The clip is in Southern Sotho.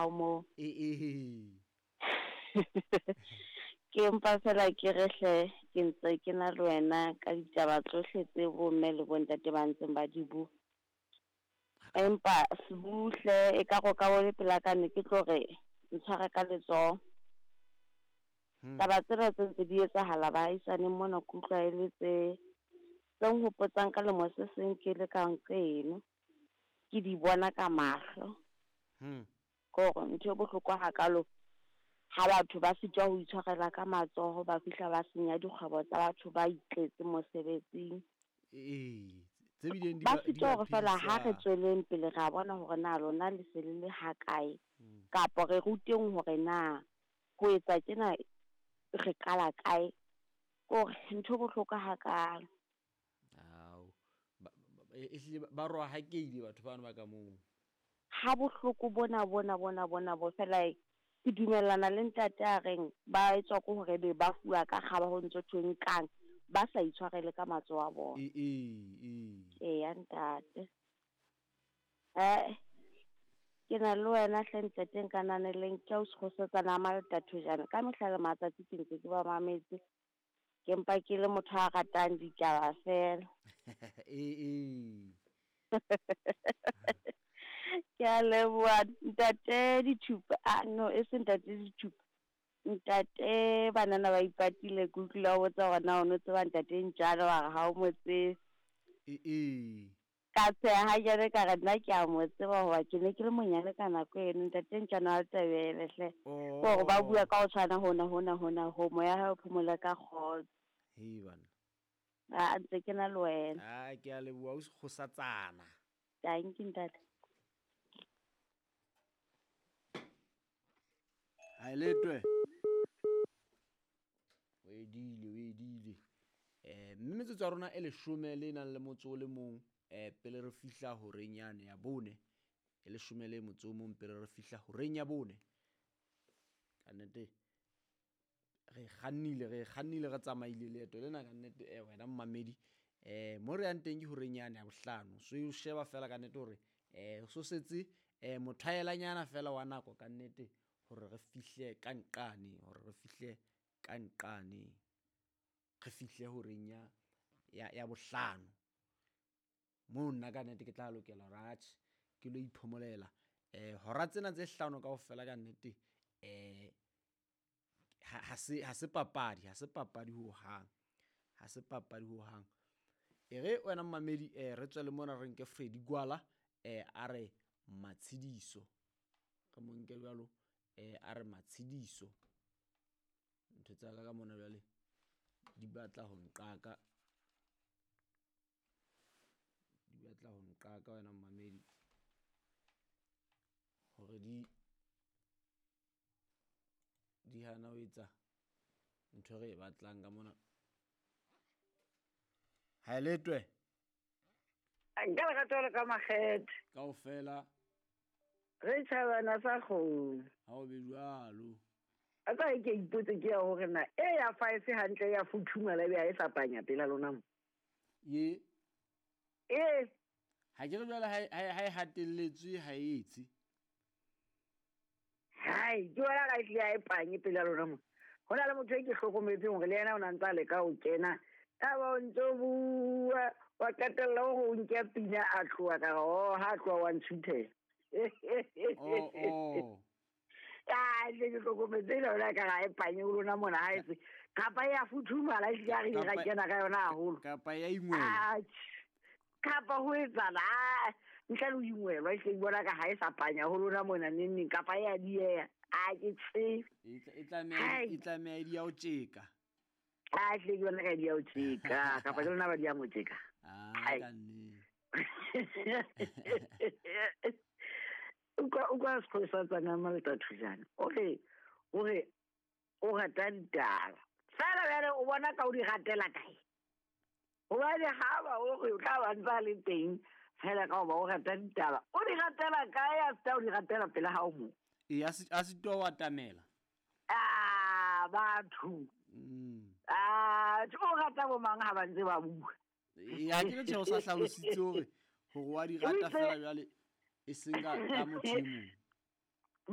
hao moo. Ee. Ke mpa fela ke re hle ke ntse ke na le wena ka ditaba tsohle tse bomme le bontate ba ntseng ba di bua. Empa Sbuhle e ka go ka bone pela ka ne ke tlo re ntshware ka letsoho. Taba tsena tse ntse di etsahala baahisaneng mona ke utlwa e le tse tse nhopotsang ka lemo se seng ke le ka nqeno. Ke di bona ka mahlo. Ke hore ntho e bohlokwa hakalo ha batho ba sitwa ho itshwarela ka matsoho, ba fihla ba senya dikgwebo tsa batho ba itletse mosebetsing. Ee, tse bileng di Ba ba di sitwa ba hore fela ha re phedisang. tsweleng pele ra bona hore na lona le se le le ha kae, kapa re ruteng hore na ho etsa tjena re qala kae. Ke hore ntho e bohlokwa hakalo. Ao, ehlile ba rohakeile batho bano ba ka moo. Ha bohloko bona bona bona bona bo fela ke dumellana le ntate a reng ba etswa ke hore be ba fuwa ka kgaba ho ntso thwe nkang ba sa itshwarele ka matsoho a bona. Ee. Eya ntate. Ke na le wena hle ntate nkananeleng ke a o sekgosetsana a Maltathojana. Ka mehla le matsatsi ke ntse ke ba mametse. Ke mpa ke le motho a ratang ditaba fela. Ee. Ke a leboha ntate Dithupa. Ah no, e se ntate Dithupa. Ntate banana ba ipatile ke utlwile o botsa hore na o no tseba ntate Ntjana wa re ha o mo tsebe. Ee. Ka tsheha ha jwale ka re nna ke a mo tseba hoba ke ne ke le monyane ka nako eno ntate Ntjana wa Letebele hle. Ke hore ba bua ka ho tshwana hona hona hona ho moya ha o phomole ka kgotso. Hei bana. A ntse ke na le wena. Ah, ke a leboha o sekgosatsana. Dankie ntate. Ha letwe. O edile. Mme metsotso ya rona e 11 le nang le motso o le mong pele re fihla horeng yane ya bone. E 11 le motso o mong pele re fihla horeng ya bone. Ka nnete re kgannile re tsamaile leeto lena ka nnete wena mmamedi. Mo re yang teng ke horeng yane ya bohlano. So o sheba fela ka nnete hore so setse mothaelanyana fela wa nako ka nnete hore re fihle ka nqane, re fihle horeng ya bohlano. Moo nna ka nnete ke tla lokela hore atjhe ke lo iphomolela. Hora tsena tse hlano kaofela ka nnete ha se papadi, ha se papadi hohang. E re wena mmamedi re tswele mona re nke Freddy Gwala a re Matshidiso. Re mo nke jwalo a re Matshidiso. Ntho tsa ka mona jwale di batla ho nqaka. Di batla ho nqaka wena mmamedi. Hore di hana ho etsa ntho re e batlang ka mona. Ha letwe. Nka le rata ka makgethe. Kaofela. Re tjhabana sa kgone. Ha o be jwalo. A tsa ke ipotse ke ya hore na e ya 5 hantle ya futhumala be ha e sa panya pela lona mo. Ye. Eh. Ha ke re jwale ha e hatelletswe ha e etse. Hai, ke wena ka tle ha e panye pela lona mo. Hona le motho e ke hlokometseng hore le yena o na ntsa le ka o kena. A ba o ntso bua wa qetella hore o nke pina a tloha ka re oh ha tloha wa ntshutela. Oh. Ah, le ke hlokometse le yona ka ga e panye ho lona mona ha etse. Kapa ya futhumala e hlile re ra kena ka yona haholo. Kapa ya ingwela. Kapa ho etsala ntle le ho ingwelwa e hle bona ka ha e sa panya ho lona mona neng kapa ya dieha. A ke tsebe. E tlameha di ya o tjeka. A hle ke bona ka di ya o tjeka kapa ke lona ba di ya mo tjeka. Ah, ka nnete. Utlwa sekgosetsana Maltathojana. O re o rata ditaba. Fela jwale o bona ka o di ratela kae? Hobane ha ba o re o tla ba ntsa le teng fela ka hoba o rata ditaba. O di ratela kae a sita o di ratela pela hao mo? E a sitwa wa tamela. Ah, batho. Ah, o rata bo mang ha ba ntse ba bua. E ha ke re tjhe o sa hlalositse hore wa di rata fela jwale e seng ka motho e mong.